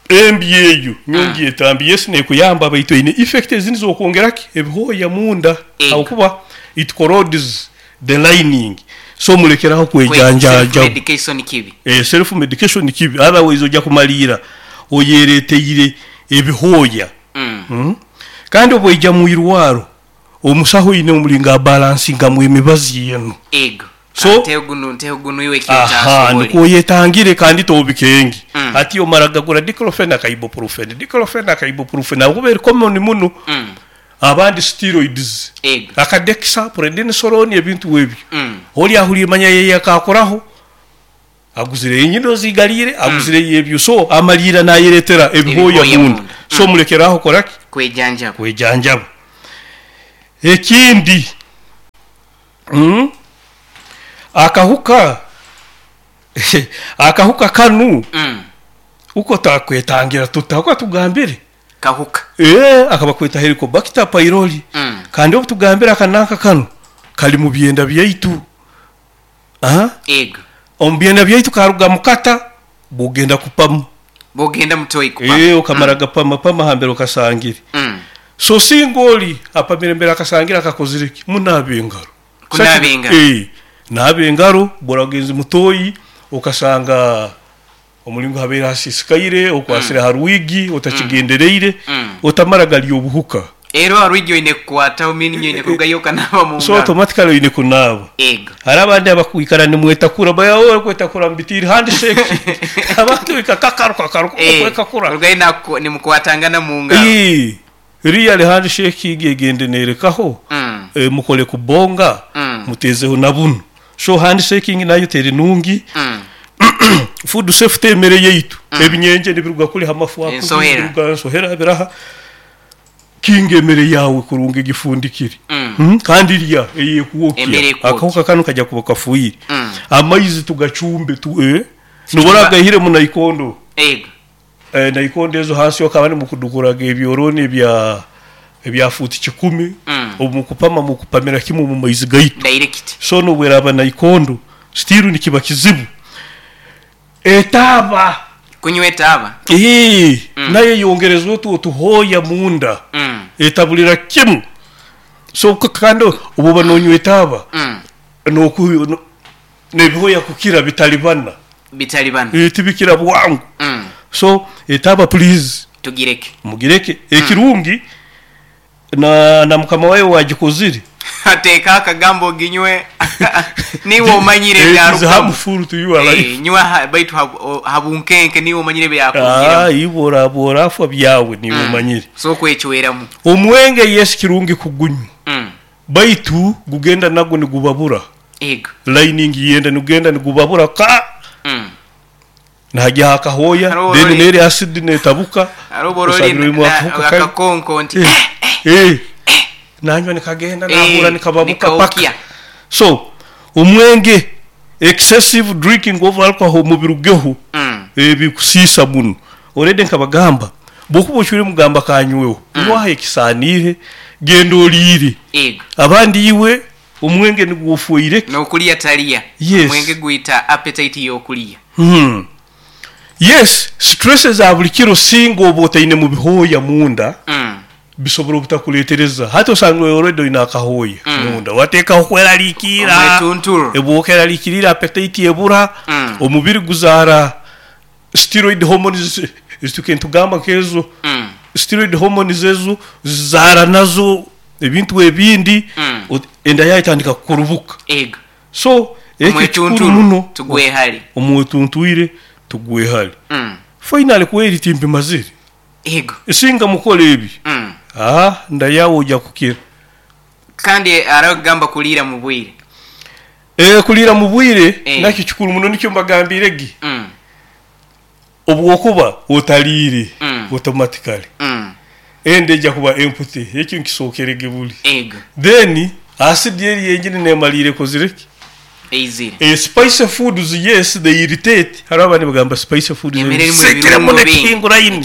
embi eyo nyongi etambi yes nekuyamba baitu ine effect ezindi zokwongeraki ebihoya munda. Aho it corrodes the lining. So mulekeraho kwejanjaja. Self medication kibi. Self medication kibi. Otherwise ojja kumalira oyereteire ebihoya. Kandi obweija mu irwaro omusaho ine omulinga balancinga mu emibazi yenu. Ego. So ntego gunu iwe kyota. Niko yetangire kandi tobikengi. Ati omaraga gura diclofenac ibuprofen. Diclofenac ibuprofen akubera common muno. Abandi steroids. Ego. Akadexa prednisolone ebintu ebyo. Oli ahuli manya yeye akakoraho. Aguzireyo enyindo zigaliire, aguzireyo ebyo so amaliira nayeretera ebihooya Ebihooya munda. munda. So mulekeraaho kukora ki? Kwejanjaba. Kwejanjaba. Ekindi, akahuka akahuka kanu uko takwetangira tuta uko tugambire Kahuka. Akaba kweta Helicobacter pylori. Kandi obu tugambire akananka kanu kali mu byenda byaitu. Ego. Omu byenda byaitu karuga mukata bugenda kupama. Bugenda mutoyi kupama. Okamara gapama pama hambere okasangire. So singoli apamire mbere akasangira akakozire ki? Munabe engaro. Kunabe engaro. Nabe engaro boragenzi mutoyi okasanga omulingo habeera hasisikaire okwasire haruwigi otakigendereire otamara gali obuhuka. Ero haruwigi oine kukwata omini oine kurugayo okanaba mu So ngaro. automatically oine kunaaba. Ego. Hari abandi abakwikara nimwetakura baya owe kwetakura mbitiri handshake. Abantu ikakakaruka karuka kwetakura. Rugayo nako nimukwatangana mu ngaro. Real handshake igende nerekaho. Mukole kubonga mutezeho na buno. So handshaking nayo teri nungi. Food safety emere yaitu. Ebinyenje nibiruga kuli hamafu ako. Ensohera. Biruga ensohera biraha. Kinga emere yawe kurunga gifundikire. Kandi lya eye kuokya. Akahuka kano kajya kuba kafuire. Amaizi tugacumbe tu Nubora gahire mu naikondo. Ego. Naikondo ezo hasi okaba mukudukuraga ebyoroni ebya futi 10. Obu mukupama mukupamira kimwe mu maizi gaitu. Direct. So no weraba naikondo stiru nikiba kizibu. Etaba kunywa etaba. Naye yongerezwe tu tuhoya munda. Etabulira kimu. So kandi obu banonywa etaba. No nebihoya kukira bitalibana. Bitalibana. Tibikira bwangu. So etaba please tugireke. Mugireke. Ekirungi na mukama wayo wagikozire. Ateka akagambo ginywe niwe omanyire bya harmful to you alive. Nywa baitu habunkenke niwe omanyire byakugira. Ibora bora afwa byawe niwe omanyire. So kwechweramu. Omwenge yes kirungi kugunywa. Baitu gugenda nago nigubabura. Ego. Lining yenda nigugenda nigubabura ka. Najya akahoya then neri acid netabuka. Aroborori akakonko nti. Nanywa nikagenda nahura nikababuka paka. So omwenge excessive drinking of alcohol mubirugeho bikusisa muno. Already nkabagamba bokuba ochure mugamba kanyweho nwahe kisanire genda olire. Abandi iwe omwenge nigufuire nokulia talia. Yes. Omwenge guita appetite yokulia. Yes, stresses za buli kiro singo obotaine mu bihoya munda. Bisobora obutakuletereza hata osanga already ina akahoya munda wateka okweraliikira ebwokeraliikirira appetite ebura omubiri guzara steroid hormones zitukentu kezo steroid hormones ezo zara nazo ebintu ebindi enda yayitandika kurubuka. Ego. So ekyo muno tugwe hali omwetuntuire tugwe hali. Finally kweri timbi mazire. Ego. Singa mukole ebi. Ndayawo ojja kukira. Kandi aragamba kulira mu bwire. Kulira mu bwire nakyo kikuru muno nikyo mbagambire gi. Obwokuba otalire automatically. Ende ejja kuba empty ekyo nkisokerege buli. Ego. Then acid yeri yenjini nemalire kozireki. Eizire. Spicy foods yes they irritate. Hari abandi bagamba spicy foods.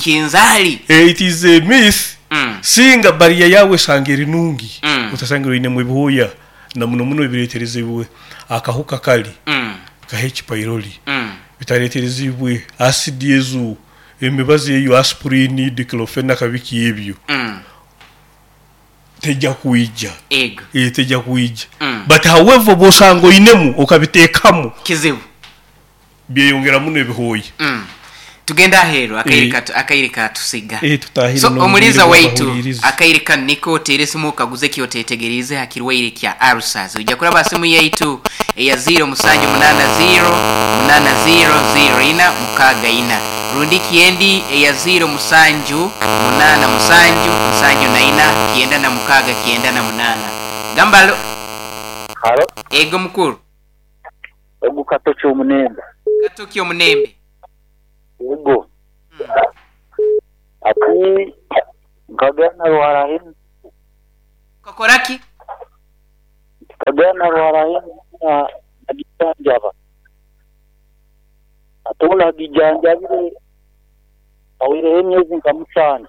Kinzali. It is a myth. Singa bariya yawe sangeri nungi. Utasanga ine mu bihoya na muno muno biretereze biwe akahuka kali. Ka H pylori. Bitaretereze biwe acid yezu emibazi eyo aspirin diclofenac biki ebyo. Tejja kuija. Ego. Tejja kuija. But however bosango inemu okabitekamu kizibu byeyongera muno ebihoyi. Tugenda ahero akaire katusiga. Tutahire so omuliza waitu akaire kaniko teresimu kaguze kyo tetegereze hakirwaire kya ulcers. Ujja kuraba simu yaitu eya 0780 80 064 rundi kiendi eya 0 7 8 7 4 96 98. Gambalo. Halo. Ego mukuru. Ogu katocho munenda. Katoki omunembe. Yego. Ati nkagenda narwara hinu. Ukakora ki? Nkagenda narwara hinu na nagijanjaba. Ate obu nagijanjabire awireho emyezi nka 7.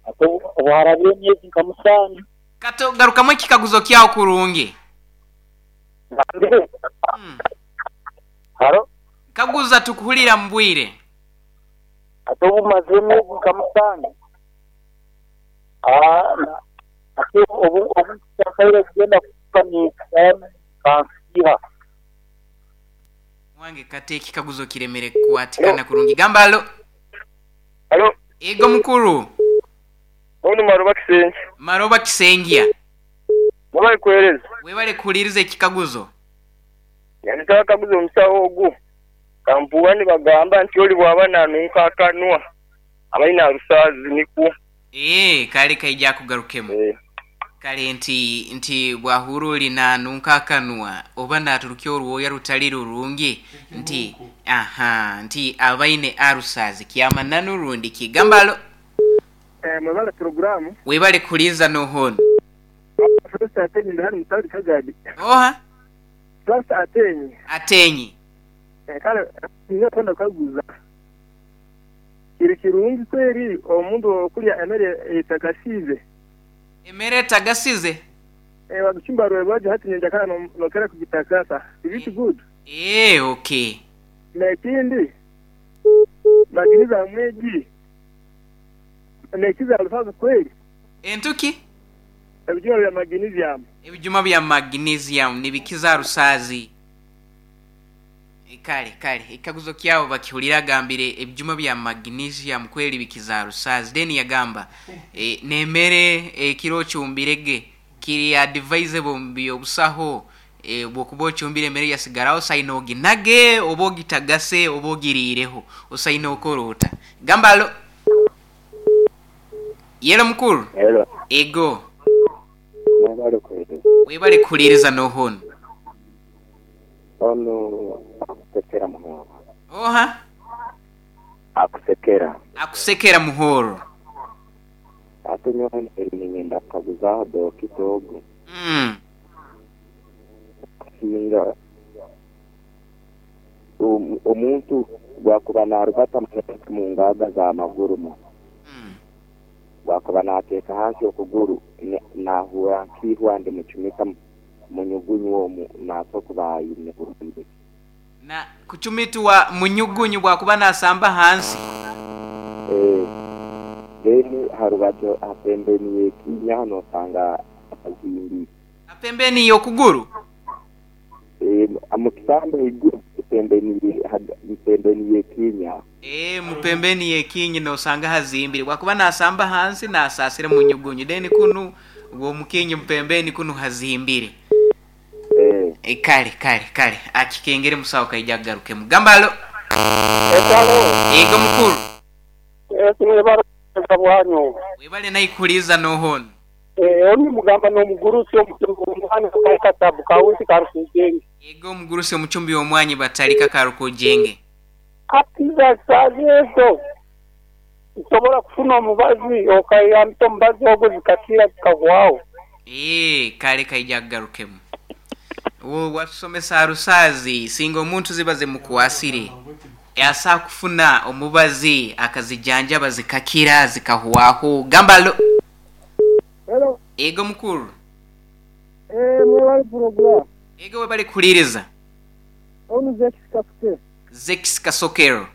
Ate obu harabire emyezi nka 7. Kato garukamu ekikaguzo kyawo kurungi. Haro? Kaguza tukuhulira mbwire. Ate obu maze emyezi nka 7. Ate obu nkaire kugenda kukanika kansiha. Wange kate ekikaguzo kiremere kuatikana kurungi. Gamba alo. Alo. Ego mukuru. Ono Maroba Kisengi. Maroba Kisengia. Webale kuhereza. Webale kuhuliriza ekikaguzo. Yandika kaguzo omusawo ogu. Kampuwa nibagamba nti oli bw'aba nanunka akanwa abaina arusazi nikwo. Kale kaija kugarukemu. Kale nti bwahuruli nanunka akanwa oba naturukya orwoya rutali rurungi nti aha nti abaine arusazi kyamananu rundi kigambalo. Mwebale programu. Webale kuliza nohono. First atenyi ndani mtali kagadi. Oha? First atenyi. Atenyi. Kale ninatenda kaguza. Kiri kirungi kweri omuntu okulya emere etagasize. Emere etagasize? Wakuchimba rwebaje hati nyenjakana nokera kugitakasa. Is it good? Okay. Na ikindi maginiza mweji. Nekiza alufaza kweli. Entuki? Ebijuma bya magnesium. Ebijuma bya magnesium nibikiza rusazi. Kale ekaguzo kyabo bakihulira gambire ebijuma bya magnesium kweli bikiza rusazi. Then yagamba nemere ekiro chumbirege kiri advisable mbyo busaho bwokuba ochumbire emere yasigaraho saino oginage oba ogitagase oba ogiriireho osaino okorota. Gambalo. Yelo mukuru. Hello. Ego. Webale kuhuliriza. Webale kuhuliriza nohono. Ono akusekera muhoro. Oha? Akusekera. Akusekera muhoro. Ate nyowe ningenda kukaguzaho dokita ogu. Singa omuntu gwakuba narubata mu ngaga za maguru mu. Wakuba nateeka hansi okuguru nahura nkihwa ndi muchumika munyugunyu omu nasokuba ayine burungi. Na kuchumitwa munyugunyu bwakuba nasamba hansi. Then harubajo apembeni yekinya nosanga azimbi. Apembeni yokuguru? Amukisambo iguru pembeni yekinya. Mupembeni yekinyi nosanga hazimbire. Wakuba nasamba hansi nasasire munyugunyu. Then kunu uwo mukinyi mpembeni kunu hazimbire. Kale akikengere musawo kaija garuke mugambalo. Ego mukuru. Webale naikuliza nohono. Oni mugamba no mugurusi omwana katabu kawuti karukujenge. Ego mugurusi omuchumbi omwanyi batalika karukujenge. Atiza sazezo. Nsobola kufuna omubazi okayamta omubazi ogwo zikakira zikagwawo. Kale kaija garukemu. Wo wasomesa arusazi singa omuntu zibaze mukuasire. Yasa kufuna omubazi akazijanja bazikakira zikahuwaho. Gambalo. Hello. Ego mukuru. Mwebale program. Ego webale kuliriza. Onu Zex Kasokero. Zex Kasokero.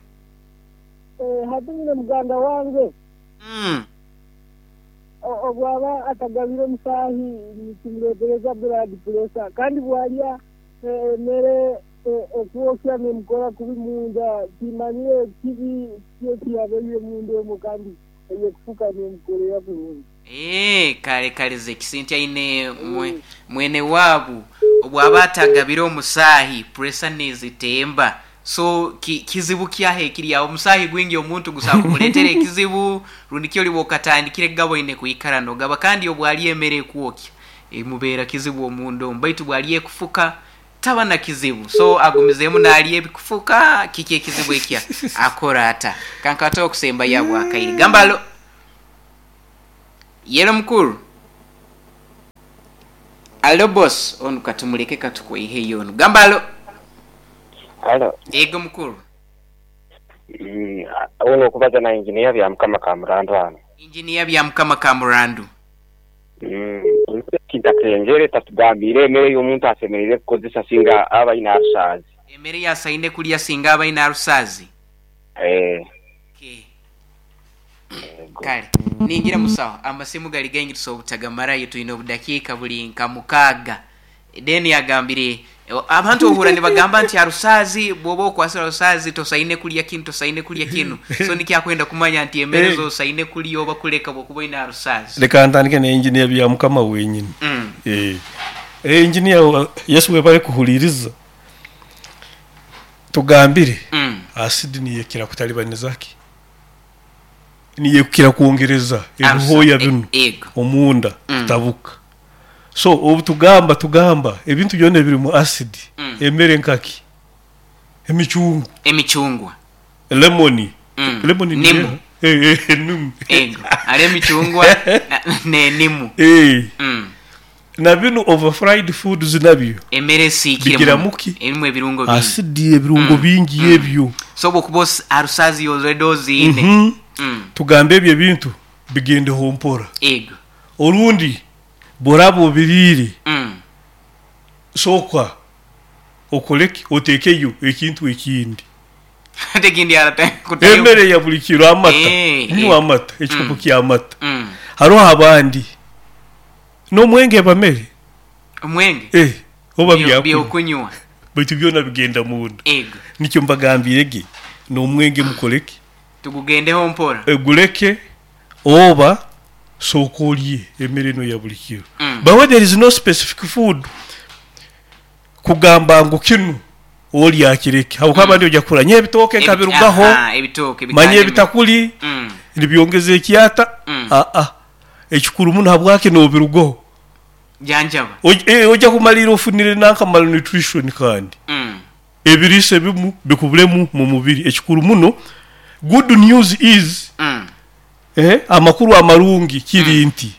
Hadumine muganda wange. Obwaba atagabire musahi nikimuletereza blood pressure kandi bwalya mere okuokya nemukora kubi munda kimanyire kibi kyo kyabeye munda omwo kandi eyekufuka nemukorera kurungi. Kale Zex nti aine mwene wabu obwaba atagabire omusahi pressure nezitemba. So kizibu kyahe kiri awo omusahi gwingi omuntu gusaba kumuleetera ekizibu rundi kyo oliba okatandikire gabo ine kuikara nogaba kandi obwali emere kwokya emubeera kizibu omundo baitu bwali ekufuka Taba na kizibu so agumizeemu nalya ebikufuka kiki ekizibu ekya akora ata kankwate okusembayo abwakaire gamba alo yelo mukuru alo boss onu katumuleke katukweiheyo onu gamba alo Alo. Ego mukuru. Ono okubaza na Engineer Byamukama Kamurandu hano. Engineer Byamukama Kamurandu. Kitakenjere tatugambiire emere y'omuntu asemereire kukozesa singa aba aine arusaazi. Emere y'asaine kulya singa aba aine arusaazi. Eh. Okay. Kale ningira musawo amasimu gali gaingi tusobola obutagamarayo twine obudakiika buli nka mukaaga. Then yagambire abantu ohura nibagamba nti arusaazi bwoba okwasire arusaazi tosaine kulya kinu tosaine kulya kinu so nikyakwenda kumanya nti emere Eh. zosaine kulya oba kuleka bwokuba oine arusaazi. Leka ntandike na engineer Byamukama wenyini. Engineer Yesu webale kuhuliriza. Tugambire asidi niyekira kutalibaniza ki? Niyekira kwongereza ebihoya binu omunda kutabuka. So obu tugamba ebintu byona ebirimu acid emere nkaki emicungwa Emicungwa. Lemoni. Lemoni ni Nimu. Nimu. Ego. Ali emicungwa ne nimu. Na bino over fried foods nabyo. Emere esiikire Bigira muno. muki? Erimu ebirungo bingi. Acid ebirungo bingi ebyo. So bwokuba arusazi already oziine. Tugambe ebyo ebintu bigendeho mpora. Ego. Orundi bworaba obiriire. Sooka okoleki oteekeyo ekintu ekindi. Ate ekindi kutayo. Emere ya buli kiro amata. Nywa amata, ekikopo ky'amata. Hariho abandi n'omwenge bamere. Omwenge? Oba byakunywa. Byokunywa. Baitu byona bigenda munda. Ego. Nikyo mbagambire ge n'omwenge mukoleki. Tugugendeho mpora. Eguleke oba sooka olye emere eno ya buli kiro. But when there is no specific food kugamba ngu kinu olya kireke. Habwokuba abandi ojja kukura nye ebitooke nkabirugaho. Ebitooke Manye bikandemu. ebitakuli nibyongeza ekyata. Ekikuru muno habwaki nobirugaho. Janjaba. Ojja kumalira ofunire nanka malnutrition kandi. Ebiriisa ebimu bikubulemu mu mubiri. Ekikuru muno good news is amakuru amarungi kiri nti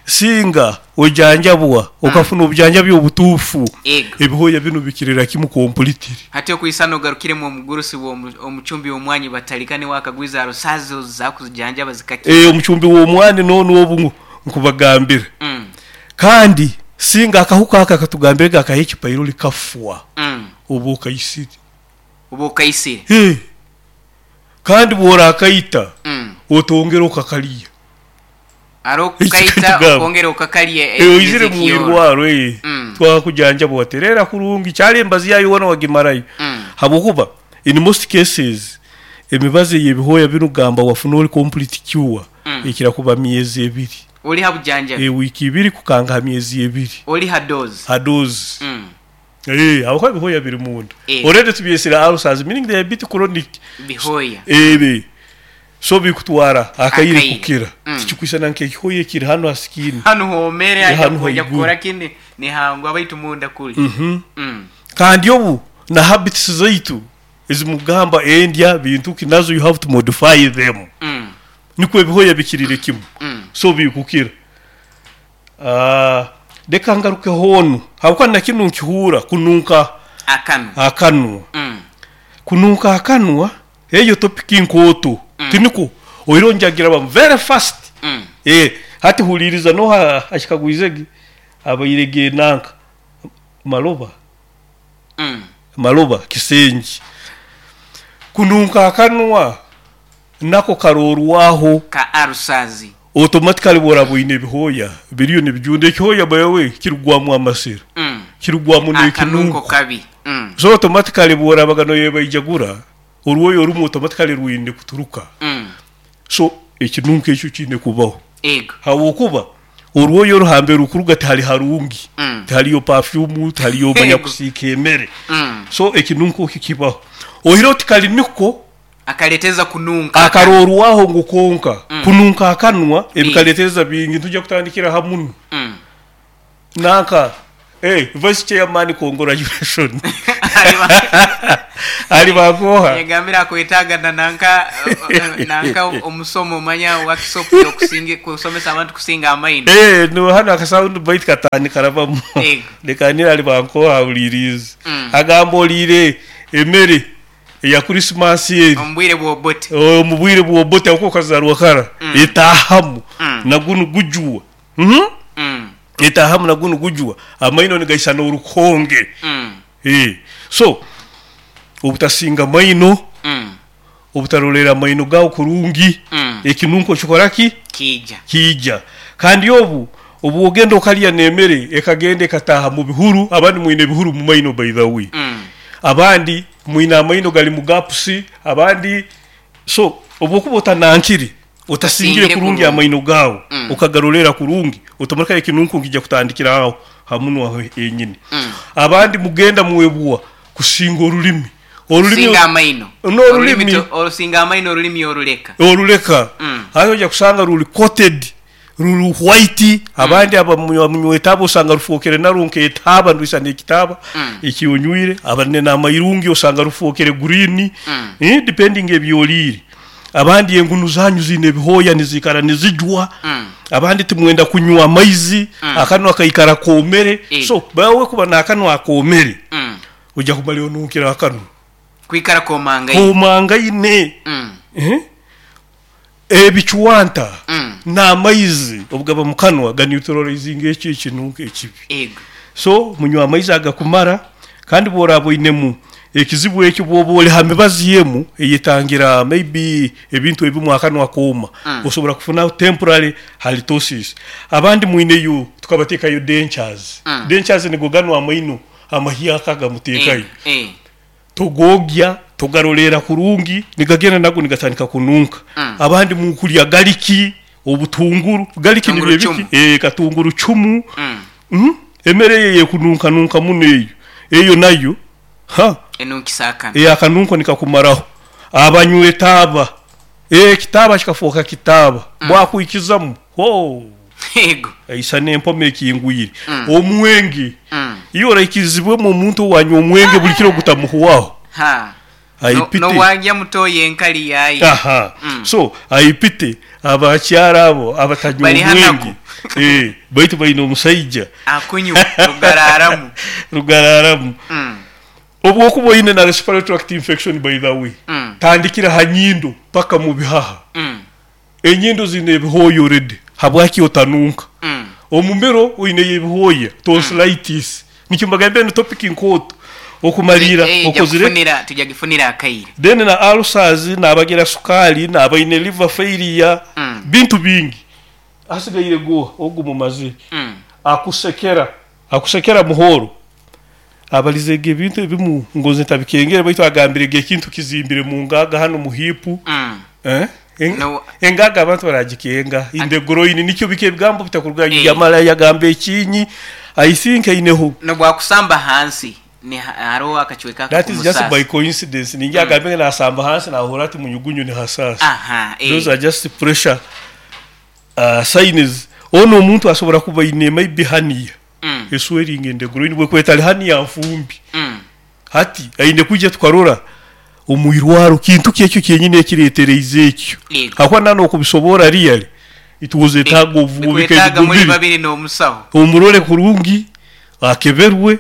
singa ojanjabwa okafuna obujanjabi obutuufu ebihoya bino bikirira kimu completely. Hati okwisana ogarukiremu omugurusi omucumbi w'omwanyi batalikane wakagwiza arusazi zakuzijanjaba zikakira. Omucumbi w'omwani nono obu nkubagambira. Kandi singa akahuka aka katugambire gakaha ekipairo likafwa. Obu okaisire. Obu okaisire. Kandi bw'orakaita otongera okakaliya. Aro kukaita okongera okakaliya. Oizire mu irwaro twakujanjaba waterera kurungi kyali embazi yayo wona wagimarayo. Habwokuba in most cases emibazi y'ebihoya bino gamba wafuna oli complete cure ekira kuba myezi ebiri. Oli ha bujanjabi. Wiki ibiri kukanga ha myezi ebiri. Oli ha dose. Ha dose. Habwokuba ebihoya biri munda. Already tubyesire ulcers meaning they are a bit chronic. Bihoya. So bikutwara akaire kukira. Tikikwisana nk'ekihoya ekiri hano ha skin. Hano homere aja kukora kini ni hangwa baitu munda kuli. Kandi obu na habits zaitu ezimugamba endya bintu kinazo you have to modify them. Niko ebihoya bikirire kimu. So bikukira. Reka ngaruke hono. Habwokuba na kinu nkihura kununka akanwa. Akanwa. Kununka akanwa eyo topic nkoto. Tiniko oironjagira ba very fast. Hati huliriza no ashikagwizege abayirege nanka maloba. Maloba kisenji. Kununka akanwa nako karorwaho ka arusazi. Automatically bworabwine ebihoya biriyo nibijunda ekihoya bawe kirugwamu amasira. Kirugwamu n'ekinunko kabi. So automatically bworabaga no yebayijagura orwoyo orumu automatically rwine kuturuka. So ekinunko ekyo kine kubaho. Ego. Habwokuba orwoyo ruhambe rukuruga tihali harungi. Tihaliyo perfume, tihaliyo manya kusiika emere. So ekinunko kikibaho. Ohiro tikali niko akaleteza kununka. Akarorwaho ngu konka. Kununka akanwa ebikaleteza bingi tujja kutandikira hamuno. Nanka Vice chairman, congratulation. Ali bankoha. Yagambire akwetaaga na nanka omusomo manya workshop yokusinga kusomesa abantu kusinga amaino. No hano aka sound bite katani karabamu. Leka nira ali bankoha awulirize. Agamba oliire emere eya Christmas eri. Omu bwire bw'obote. Omu bwire bw'obote ako kazarwa kara. Etahamu na gunu gujuwa. Etahamu na gunu gujuwa. Amaino nigaisana orukonge. So obutasinga maino, obutarolera maino gawe kurungi, ekinunko kikoraki kiija. Kandi obu ogenda okalya n'emere ekagenda ekataha mu bihuru, abandi mwine ebihuru mu maino by the way. Abandi mwine amaino gali mu gapusi, abandi so obwokuba otanankiri otasingire kurungi amaino gawe, okagarolera kurungi, otomureka ekinunko nkijja kutandikira aho hamunwa aho enyini. Abandi mugenda muwebwa kusinga orulimi. Orulimi singa amaino. No, orulimi. Orusinga amaino, orulimi oruleka. Oruleka. Hayo ojja kusanga ruli coated, ruli white, abandi abamunywetabo osanga rufokere narwo nk'etaaba, ndwisa n'ekitaaba ekyonywire, abandi n'amairungi osanga rufokere green, depending ebyoliire. Abandi engunu zanyu zine ebihooya nizikara nizijwa, abandi timwenda kunywa amaizi, akanwa kaikara komere. So bawe kuba n'akanwa akomere, ojja kumara onunkira akanwa. Kwikara komangaine. Komangaine. Ebichwanta n'amaizi obugaba mu kanwa ga neutralizing ekyo ekinunko ekibi. So munywa amaizi agakumara, kandi bworaba oinemu ekizibu ekyo bwoba oli ha mibazi yemu eyetangira maybe ebintu ebimu akanwa kooma, osobola kufuna temporary halitosis. Abandi mwineyo tukabatekayo dentures. Dentures nigo ganwa amaino amahyaka gamutekayo. Togogya togarolera kurungi nigagenda nago nigatandika kununka. Abandi mukulya gariki obutunguru, gariki ni biki? Katunguru chumu. Emere ye kununka nunka muno eyo. Eyo nayo ha enunkisakana. Akanunko nikakumaraho. Abanywe taba. Kitaba kikafoka kitaba. Bwakuikizamu. Ho. Ego. Aisane empome ekingwire. Omwenge. Iyo oraikizibwe mu muntu wanywa omwenge buli kiro gutamuhuwaho. Ha. Aipite. No wajya mutoye enkali yayi. Aha. So aipite abakyara abo abatanywa omwenge. Baitu baine omusaija. Akunywa rugararamu. Rugararamu. Obwokuba oine na respiratory tract infection by the way. Tandikira ha nyindo paka mu bihaha. Enyindo zine ebihooya already. Habwaki otanunka? Omumiro oine ebihooya, tonsillitis. Nikyo mbagambe ni topic nkoto. Okumalira okozire tujagifunira akaire. Then na ulcers nabagira sukali nabaine liver failure, bintu bingi. Asigaire go ogu mumazi. Akusekera muhoro. Abalizege ebintu ebimu ngoze ntabikengere baitu agambire ekintu kizimbire mu ngaga hano mu hipu. No. Engaga abantu baragikenga in the groin nikyo bike ebigambo bitakuruga yamala yagamba ekinyi. I think aineho no bwakusamba hansi ni haro akachweka. That is just by coincidence. Ninja agambe na samba hansi na hora ati munyugunyu ni hasasa. Aha. Those are just pressure signs. Ono omuntu asobora kuba ine maybe hernia. Eswelling in the groin bwe kwetali hernia mfumbi. Hati aine kujja tukarora omwirwaro kintu kyekyo kyenyine ekiretereize ekyo. Hakwa nano okubisobora really it was a tag of wiketaga muri babiri no musaho. Omurole kurungi akeberwe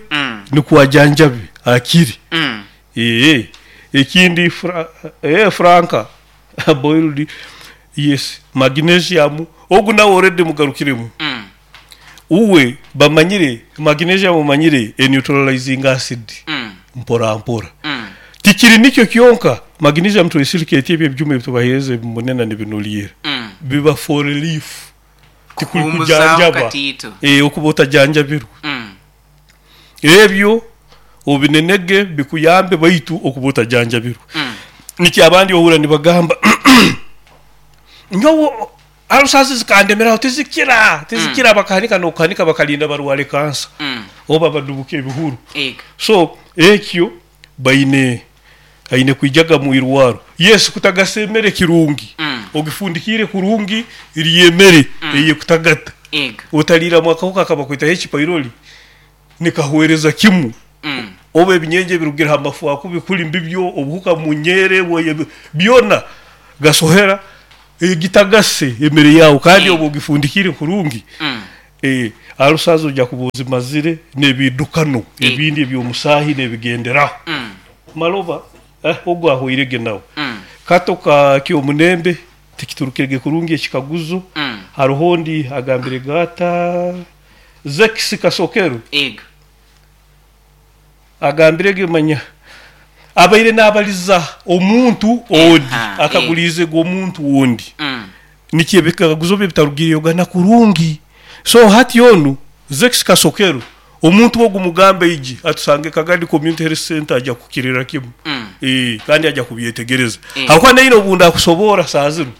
nikuwajanjabe akiri. Ekindi franka boiled yes magnesium ogu nawe already mugarukiremu. Uwe bamanyire magnesium manyire e neutralizing acid. Mpora mpora. Tikiri nikyo kyonka magnesium trisilicate ebyo byuma ebitubahereza munena nibinuliera. Biba for relief. Tikuri kujanjaba. Okuba otajanjabirwe. Ebyo obinenege bikuyambe baitu okuba otajanjabirwe. Niki abandi ohura nibagamba nyowo alusazi zikandemeraho tizikira bakahanika nokuhanika bakalinda barwale kansa. Oba badubuke ebihuru. So ekyo baine aine kwijaga mu irwaro. Yes kutagasa emere kirungi. Ogifundikire kurungi iri emere eye kutagata. Otalira mwaka akabakwita H pylori. Nikahwereza kimu oba ebinyenje ebirugire ha mafu akubi kuli mbibyo, obuhuka munyeere, byona gasohera gitagase emere yawe kandi oba ogifundikire kurungi, alusazi oja kuba ozimazire n'ebidukano ebindi eby'omusaahi n'ebigenderaho. Maloba ogu ahwairege nawe. Kato ka Kyomunembe tikiturukirege kurungi ekikaguzo, haroho ondi agambirege ata Zex Kasokero agambirege manya abaire nabaliza omuntu ondi akaguliizege omuntu ondi nikyo ebikaguzo bye bitarugiregana kurungi so hati onu Zex Kasokero omuntu ogu mugambe aije atusange Kagadi Community Health Centre aja kukirira kimu kandi aja kubyetegereza habwokuba naine obu ndakusoboora saaha zinu.